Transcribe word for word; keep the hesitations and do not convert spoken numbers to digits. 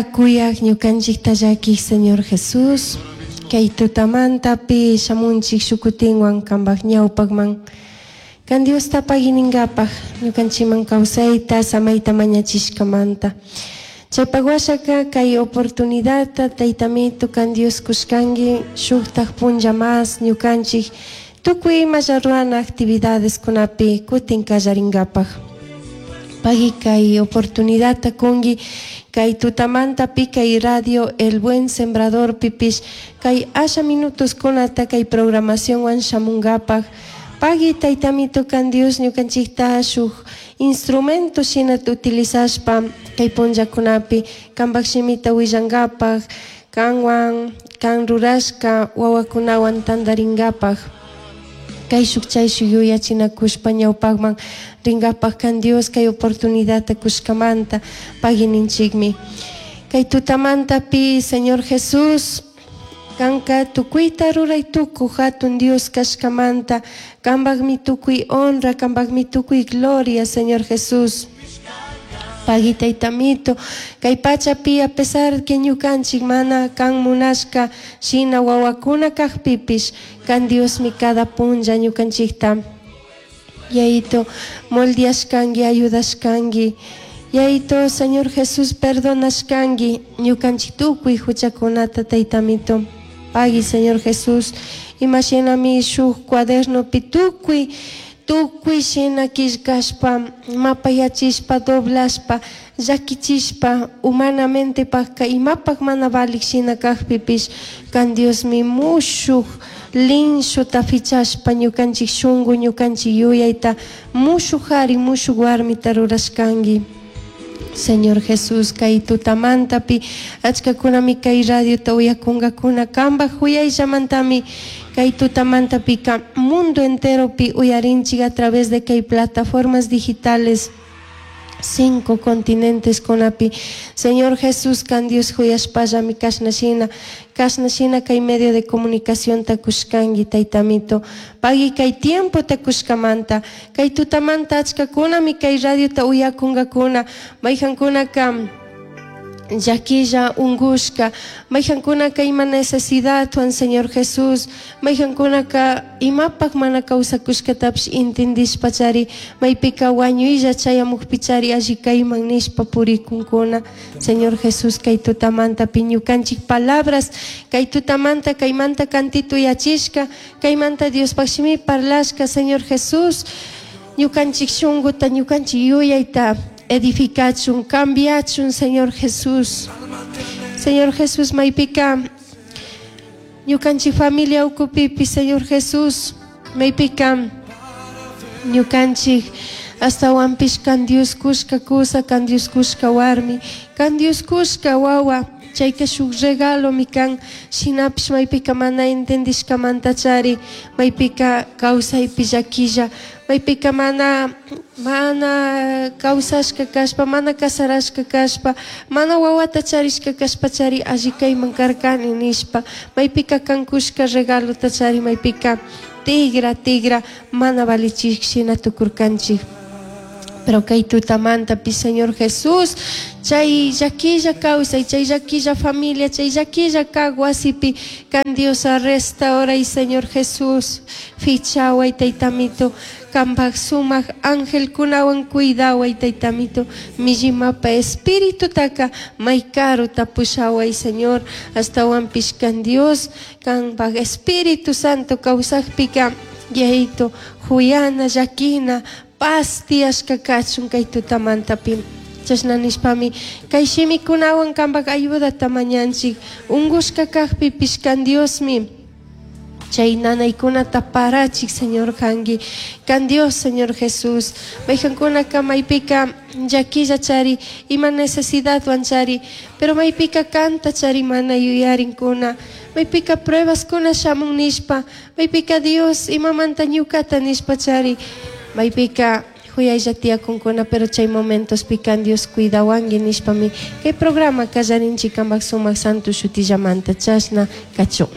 Kuyaq ñukanchikta llakiq Señor Jesús, kay tutamantapi shamunchik shukutinwan kanpak ñawpakman. Kan Diosta pagui ninkapaj ñukanchikman kawsayta samayta mañachishkamanta. Chaypak washaka kay oportunidadta Taytamito kan Dios kushkanki shuktak punlla mas ñukanchik tukuy imalla rurana actividadeskunapi kutin kallarinkapak. Pagui kay oportunidadta kunki kay tutamantapi kay radio El Buen Sembrador pipish kay asha minutoskunata kay programacionwan shamunkapak. Pagui Taytamito kan Dios ñukanchikta shuk instrumento shina utilizashpa kay punllakunapi kanpak shimita willankapak kanwan kan rurashka wawakunawan tantarinkapak. Kayshuk chayshuk yuyachinakushpa ñawpakman rinkapak kan Dios kay oportunidadta kushkamanta pagui ninchikmi. Kay tutamantapi Señor Jesús, kanka tukuyta ruray tukuy hatun Dios kashkamanta kanpakmi tukuy honra, kanpakmi tukuy gloria, Señor Jesús. Pagui Taytamito, kay pachapi a pesar que ñukanchik mana kan munashka shina wawakuna kakpipish kan Diosmi cada punlla ñukanchikta Yayito moldeashkanki, ayudashkanki. Yayito, Señor Jesús, perdonashkanki ñukanchik tukuy huchakunata Taytamito. Pagui, Señor Jesús, imashinami shuk cuadernopi tukuy tukuy shina killkashpa mapayachishpa doblashpa llakichishpa humanamente pakka imapak mana valik shina kakpipish kan Diosmi mushuk linshuta fichashpa ñukanchik shunku ñukanchik yuyayta mushuk hari mushuk warmita rurashkanki. Señor Jesús, kay tutamantapi achkakunami kay radiota uyakunkakuna kanpak huyayllamantami kay tutamantapika mundo enteropi uyarinchik a través de kay plataformas digitales cinco continentes kunapi. Señor Jesús, kan Dios huyashpallami kashna shina kashna shina kay medio de comunicación kushkanki Taytamito. Pagui kay tiempota kushkamanta kay tutamanta achkakunami kay radiota uyakunkakuna mayjankunaka llaquilla ungushka mayjankunaka ima necesidadwan Señor Jesús mayjankunaka imapak mana kawsakushkatapish intindishpachari maypika wañuylla chayamukpichari alli kayman nishpa purikunkuna. Señor Jesús, kay tutamantapi ñukanchik palabras kay tutamanta kaymanta cantito yachishka kaymanta Diospaq shimi parlashka Señor Jesús ñukanchik shunkuta ñukanchik yuyayta edificachun, cambiachun, Señor Jesús. Señor Jesús, maypika ñukanchik familia ukupipi, Señor Jesús, maypika ñukanchik astawanpish kan Dios kushka kusa, kan Dios kushka warmi, kan Dios kushka wawa, chayka shuk regalomi kan, shinapish maypika mana entendishkamantachari, maypika kawsaypi llaquilla, maypika mana mana kawsashka kashpa, mana casarashka kashpa, mana wawata charishka kashpachari alli kayman karkani nishpa, maypika kan kushka regalota chari, maypika tigra tigra mana valichik shina tukurkanchik. Pero kay tutamantapi, Señor Jesús, chay llaquilla kawsay, chay llaquilla familia, chay llaquilla kak wasipi, kan Dios restauray, Señor Jesús, fichaway Taytamito, kanpak sumak angelkunawan cuidaway Taytamito, millimapa espiritutaka may karuta pushaway, Señor, astawanpish kan Dios, kanpak Espíritu Santo kawsakpika, Yayito, huyana, llaquina, paz tiyashka kachun kay tutamantapi. Chashna nishpami kay shimikunawan kanpak ayudata mañanchik ungushka kakpipish kan Diosmi chay nanaykunata parachik Señor kanki kan Dios Señor Jesús mayjankunaka maypika llaquilla chari ima necesidadwan chari pero maypika kanta chari mana yuyarinkuna maypika pruebaskuna shamun nishpa maypika Dios imamanta ñukata nishpa chari maypika huyaylla tiyakunkuna pero chay momentos kan Dios cuidawanki nishpami kay programa kallarinchik kanpak sumak santo shutillamanta chashna kachun.